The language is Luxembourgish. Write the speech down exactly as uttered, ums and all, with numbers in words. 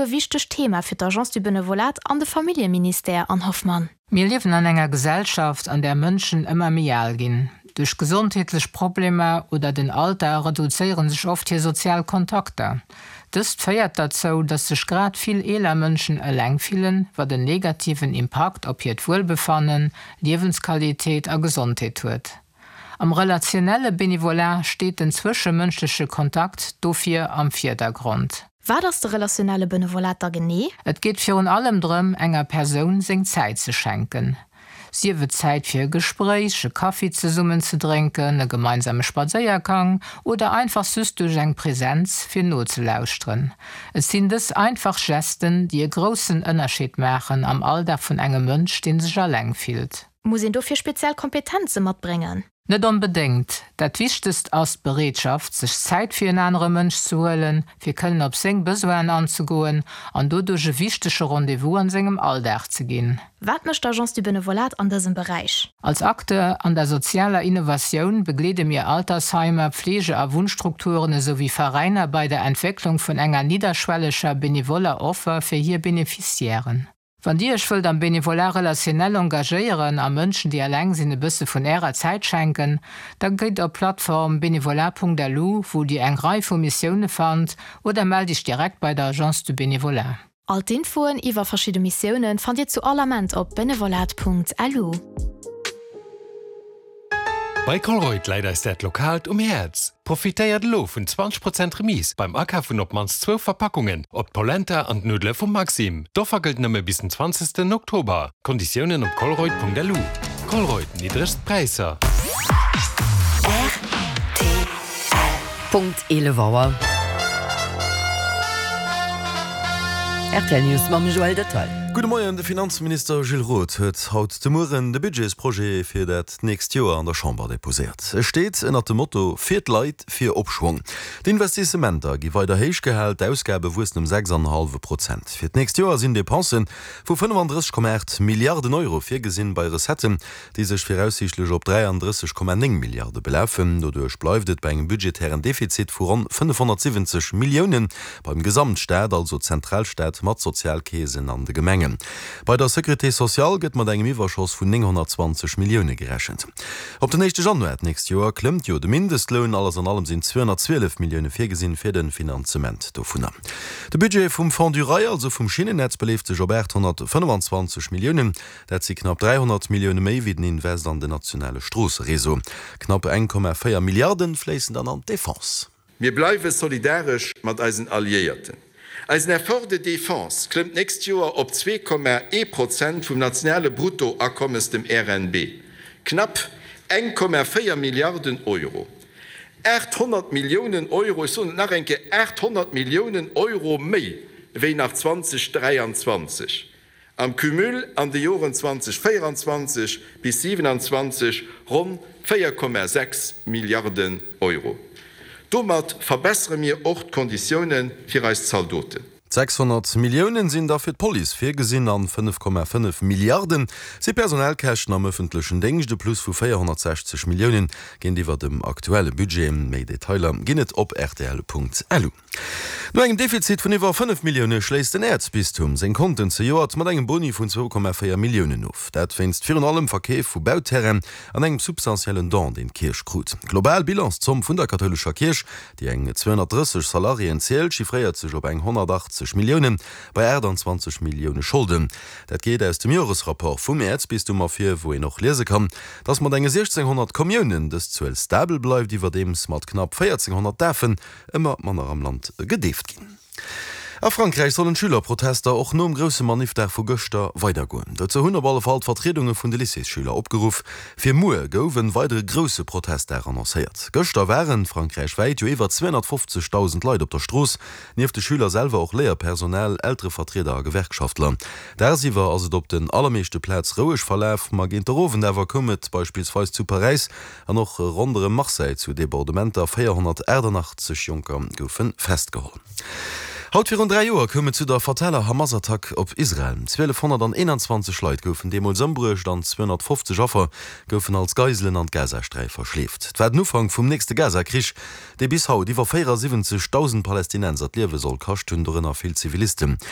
e wichtegt Thema fir d'Agence du Benevolat an de Familljeministère, Anne Hoffmann? Mir liewen an enger Gesellschaft, an där Mënschen ëmmer méi al ginn. Duerch gesondheetlech Problemer oder den Alter reduzéiere sech oft hir sozial Kontakter. Dëst féiert dozou, datt sech grad vill eeler Mënschen eleng fillen, wat en negativen Impakt op hiert Wuelbefannen, Liewensqualitéit a Gesondheet huet. Am relationelle Benevolat steet den zwëschemënschleche Kontakt dofir am Virdergrond. Wat ass de relationelle Benevolat da genee? Et geet virun allem drëm, enger Persoun seng Zäit ze schenken. Sief et Zäit fir e Gespréich, e Kaffi zesummen ze drénken, e gemeinsame Spadséiergang oder einfach just duerch eng Presenz fir nozelauschteren. Et sinn dës einfach Gesten, déi e groussen Ënnerscheed maachen am Alldag vun engem Mënsch, dee sech eleng fillt. Muss een dofir speziell Kompetenze matbréngen? Net onbedéngt. Dat Wichtegst ass d'Bereetschaft, sech Zäit fir en anere Mënsch ze huelen, fir kënnen op seng Besoinen anzegoen an doduerch e wichtege Rendez-vous an sengem Alldag ze ginn. Wat mécht d'Agence du Benevolat an dësem Beräich? Als Acteur an der sozialer Innovatioun begleede mir Altersheimer, Pflege a Wunnstrukturen esouwéi Veräiner bei der Entwécklung vun enger nidderschwelleger benevoller Offer fir hir Beneficiairen. Wann Dir Iech wëllt am Bénévolat relationnel engagéieren a Mënschen, déi eleng sinn, e bësse vun Ärer Zäit schenken, da gitt op d'Plattform bénévolat.lu, wou Dir eng Rei vu Missioune fannt, oder mellt Iech direkt bei der Agence du Bénévolat. All d'Infoen iwwer verschidde Missioune fannt Dir zu all Ament op benevolat.lu. Bei Colruyt läit eis dat Lokaalt um Häerz. Profitéiert elo vun zwanzeg Prozent Remise beim Akaf vun op d'mannst zwou Verpackungen op d'Polenta an d'Nuddele vum Maxim. D'Offer gëllt nëmme bis den zwanzegsten Oktober. Konditiounen op colruyt.lu. Colruyt, niddregst Präisser. Rtl. Punkt eelef Auer. Rtl News mam Joël Detail. Gudde Moien, De Finanzminister Gilles Roth huet haut de Mueren de Budgetsprojet fir dat nächst Joer an der Chamber deposéiert. E steet ënnert dem Motto Fir d'Leit, fir Opschwong. D'Investissementer gi weider héich gehal, d'Ausgabe wuessen ëm sechs an en hallwe Prozent. Fir d'nächst Joer sinn Depensen vu fënnefandrësseg Komma aacht Milliarden Euro virgesinn, bei Recetten, déi sech viraussiichtlech op dräiandrësseg Komma néng Milliarde belafen. Doduerch bleift et bei engem budgetären Defizit vu ronn fënnefhonnertsiwwenzeg Milliounen beim Gesamtstaat, also Zentralstaat mat Sozialkeesen an de Gemengen. Bei der Sécurité sociale gëtt mat engem Iwwerschoss vun nénghonnertzwanzeg Millioune gerechent. Op den éischte Januar d'nächst Joer klëmmt jo de Mindestloun. Alles an allem sinn zweehonnertzwielef Millioune virgesinn fir de Finanzement dovunner. De Budget vum Fonds du Rail, also vum Schinnennetz, beleeft sech op aathonnertfënnefenzwanzeg Milliounen. Dat si knapp dräihonnert Millioune méi wéi den Invest an den nationale Stroossereseau. Knapp eng Komma véier Milliarde fléissen dann an d'Defense. Mir bleiwe solidaresch mat eisen Alliéierten. Eisen Effort de défense klëmmt d'nächst Joer op zwee Komma ee Prozent vum nationale Bruttoakommes, dem R N B, knapp eng Komma véier Milliarden Euro. aathonnert Milliounen Euro, ech soen et nach eng Kéier, aathonnert Milliounen Euro méi wéi nach zweedausendräianzwanzeg. Am Cumul an de Joren zweedausendvéieranzwanzeg bis siewenanzwanzeg ronn véier Komma sechs Milliarden Euro. Domat verbessere mir och d'Konditioune fir eis Zaldoten. Sechshonnert Milliounen sinn da fir d'Police virgesinn an fënnef Komma fënnef Milliarden si Personalkäschten am ëffentlechen Déngscht, e Plus vu véierhonnertsechzeg Milliounen géintiwwer dem aktuelle Budget. Méi Detailer ginn et op rtl.lu. No engem Defizit vun iwwer fënnef Millioune schléisst den Äerzbistum seng Konten zejoert mat engem Boni vun zwou Komma véier Milliounen of. Dat wéinst virun allem Verkeef vu Bauterrainen an engem substantiellen Don, deen d'Kierch krut. D'global Bilanszomm vun der kathoulescher Kierch, déi eng zweehonnertdrësseg Salariéen zielt, chiffréiert sech op eng honnertachtzeg Milliounen bei aachtanzwanzeg Millioune Scholden. Dat geet aus dem Joresrapport vum Äerzbistum ervir, wou een och liese kann, datt mat enge siechzénghonnert Kommiounen dës Zuel stabel bleift, iwwerdeems mat knapp véierzénghonnert Dafen ëmmer manner am Land gedeeft ginn. A Frankräich sollen d'Schülerprotester och nom grousse Maniffdag vu gëschter weidergoen. Dozou hunn op alle Fall d'Vertriedunge vun de Lycéesschüler opgeruff. Fir muer gouf en weidere grousse Protestdag annoncéiert. Gëschter waren frankräichwäit jo iwwer zweehonnertfofzegdausend Leit op der Strooss, nieft de Schüler selwer och Léierpersonal, Elterevertrieder a Gewerkschaftler. Dagsiwwer ass et op den allermeeschte Plaz roueg verlaf, ma géint der Owend awer koum et beispillsweis zu Paräis an och ronderëm Marseille zu Debordementer, véierhonnertaachtannachtzeg Jonker goufe festgeholl. Haut virun dräi Joer koum et zu der fataler Hamas-Attack op Israel. zwielefhonnerteenanzwanzeg Leit goufen deemools ëmbruecht an zweehonnertfofzeg Affer goufen als Geiselen an d'Gazasträif verschleeft. Et war den Ufank vum nächste Gaza-Krich, dee bis haut iwwer véierasiwwenzegdausend Palästinenser d'Liewe soll kascht hunn, dorënner vill Zivilisten.